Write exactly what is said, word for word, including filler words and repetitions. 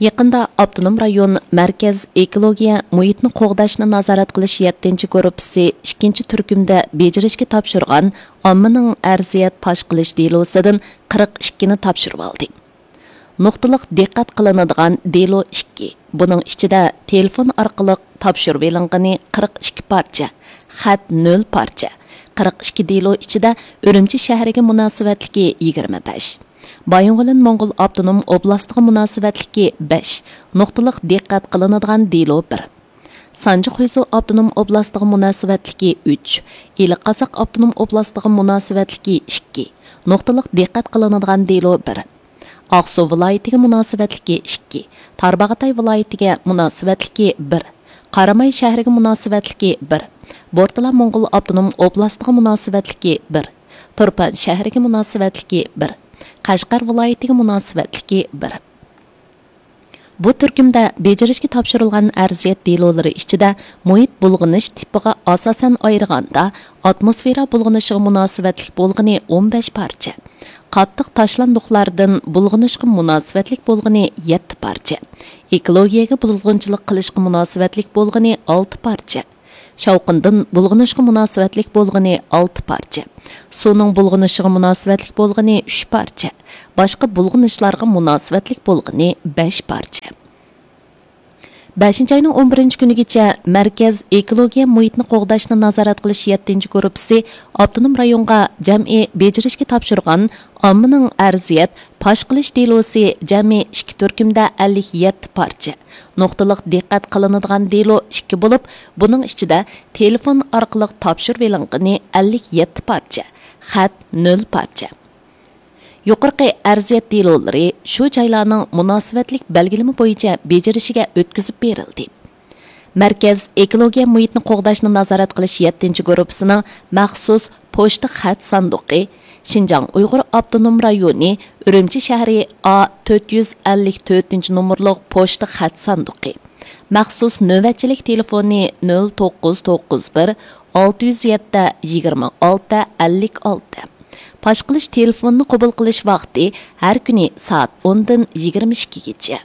يېقىندا ئاپتونوم رايون مەركەز ئېكولوگىيە مۇھىتنى قوغداشنى نازارەت قىلىش يەتتىنچى گۇرۇپپىسى ئىككىنچى تۈركۈمدە بېجىرىشكە تاپشۇرغان ئاممىنىڭ ئەرزىيەت پاش قىلىش دېلوسىدىن قىرىق ئىككىنى تاپشۇرۇۋالدى. نۇقتىلىق دىققەت قىلىنىدىغان دېلو ئىككى، بۇنىڭ ئىچىدە تېلېفون ئارقىلىق تاپشۇرۇۋېلىنغىنى قىرىق ئىككى پارچە، خەت نۆل پارچە، قىرىق ئىككى دېلو ئىچىدە ئۈرۈمچى شەھىرىگە مۇناسىۋەتلىكى يىگىرمە بەش، بايىنغولىن موڭغۇل ئاپتونوم ئوبلاستىغا مۇناسىۋەتلىكى بەش، نۇقتىلىق دىققەت قىلىنىدىغان دېلو بىر، سانجى خۇيزۇ ئاپتونوم ئوبلاستىغا مۇناسىۋەتلىكى ئۈچ، ئىلى قازاق ئاپتونوم ئوبلاستىغا مۇناسىۋەتلىكى ئىككى، نۇقتىلىق دىققەت قىلىنىدىغان دېلو بىر، ئاقسۇ ۋىلايىتىگە مۇناسىۋەتلىكى ئىككى، تارباغاتاي ۋىلايىتىگە مۇناسىۋەتلىكى بىر، قاراماي شەھىرىگە مۇناسىۋەتلىكى بىر، بورتالا موڭغۇل ئاپتونوم ئوبلاستىغا مۇناسىۋەتلىكى بىر، تۇرپان شەھىرىگە مۇناسىۋەتلىكى بىر، قەشقەر ۋىلايىتىگە مۇناسىۋەتلىكى بىر. بۇ تۈركۈمدە بېجىرىشكە تاپشۇرۇلغان ئەرزىيەت دېلولىرى ئىچىدە مۇھىت بۇلغىنىش تىپىغا ئاساسەن ئايرىغاندا، ئاتموسفېرا بۇلغىنىشىغا مۇناسىۋەتلىك بولغىنى ئون بەش پارچە، قاتتىق تاشلاندۇقلاردىن بۇلغىنىشقا مۇناسىۋەتلىك بولغىنى يەتتە پارچە، ئېكولوگىيەگە بۇزغۇنچىلىق قىلىشقا مۇناسىۋەتلىك بولغىنى ئالتە پارچە، شاۋقۇندىن بۇلغىنىشقا مۇناسىۋەتلىك بولغىنى ئالتە پارچە، سۇنىڭ بۇلغىنىشىغا مۇناسىۋەتلىك بولغىنى ئۈچ پارچە، باشقا بۇلغىنىشلارغا مۇناسىۋەتلىك بولغىنى بەش پارچە. بەشىنچى ئاينىڭ ئون بىرىنچى كۈنىگىچە مەركەز ئېكولوگىيە مۇھىتنى قوغداشنى نازارەت قىلىش يەتتىنچى گۇرۇپپىسى ئاپتونوم رايونغا جەمئىي بېجىرىشكە تاپشۇرغان ئاممىنىڭ ئەرزىيەت پاش قىلىش دېلوسى جەمئىي ئىككى تۈركۈمدە ئەللىك يەتتە پارچە، نۇقتىلىق دىققەت قىلىنىدىغان دېلو ئىككى بولۇپ، بۇنىڭ ئىچىدە تېلېفون ئارقىلىق تاپشۇرۇۋېلىنغىنى ئەللىك يەتتە پارچە، خەت نۆل پارچە. يۇقىرىقى ئەرزىيەت دېلولىرى شۇ جايلارنىڭ مۇناسىۋەتلىك بەلگىلىمە بويىچە بېجىرىشىگە ئۆتكۈزۈپ بېرىلدى. مەركەز ئېكولوگىيە مۇھىتنى قوغداشنى نازارەت قىلىش يەتتىنچى گۇرۇپپىسىنىڭ مەخسۇس پوچتا خەت ساندۇقى، شىنجاڭ ئۇيغۇر ئاپتونوم رايونى، ئۈرۈمچى شەھىرى، ئا تۆت يۈز ئەللىك تۆتىنچى نومۇرلۇق پوچتا خەت ساندۇقى. مەخسۇس نۆۋەتچىلىك تېلېفونى نۆل توققۇز توققۇز بىر، ئالتە يۈز يەتتە، يىگىرمە ئالتە، ئەللىك ئالتە. پاش قىلىش تېلېفونىنى قوبۇل قىلىش ۋاقتى ھەر كۈنى سائەت ئوندىن يىگىرمە ئىككىگىچە.